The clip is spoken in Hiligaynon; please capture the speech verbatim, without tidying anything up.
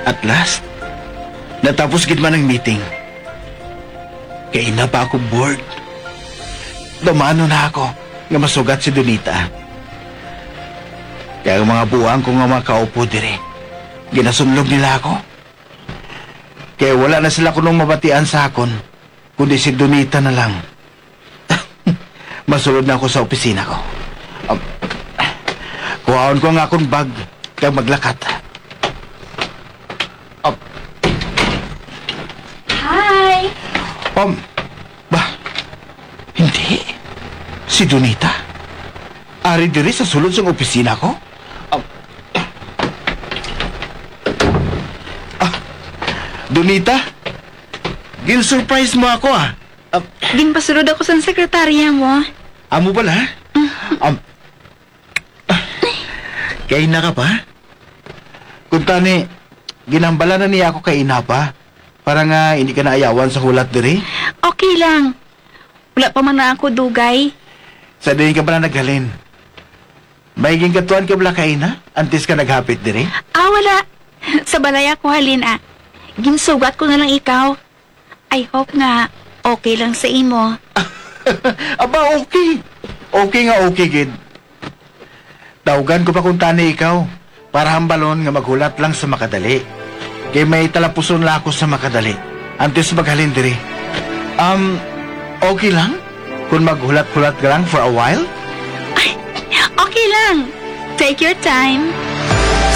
At last, natapos gid man ang meeting. Kay ina pa ako bored. Dumano na ako nga masugat si Donita. Kaya ang mga buang ko nga mga kaupo diri, ginasunlog nila ako. Kaya wala na sila kuno mabatian sa akon, kundi si Donita na lang. Masulod na ako sa opisina ko. Um, kuhaon ko nga akong bag kag maglakat. Um, Hi! um, ba, hindi. Si Donita. Ari diri sa sulod sang opisina ko. Um, ah, Donita, gin-surprise mo ako, ah. Um, Ginpasulod ako sa sekretarya mo. Amo pala? Um, ah, kay na ka pa? Kung tani, ginambala na niya ako kay ina pa para nga hindi ka naayawan sa hulat diri. Okay lang. Wala pa man na ako dugay. Sa diin ka pala naghalin? May ginkatuan ka bala kay ina antes ka naghapit diri? Ah, wala. Sa balay ako halin, ah. Ginsugat ko na lang ikaw. I hope nga okay lang sa imo. Aba, okay. Okay nga okay gid. Tawgan ko pa kung tani ikaw para hambalon nga maghulat lang sa makadali. Kay may talapuson la ako sa makadali antes maghalin diri. Um, okay lang kung maghulat-hulat ka lang for a while? Okay lang. Take your time.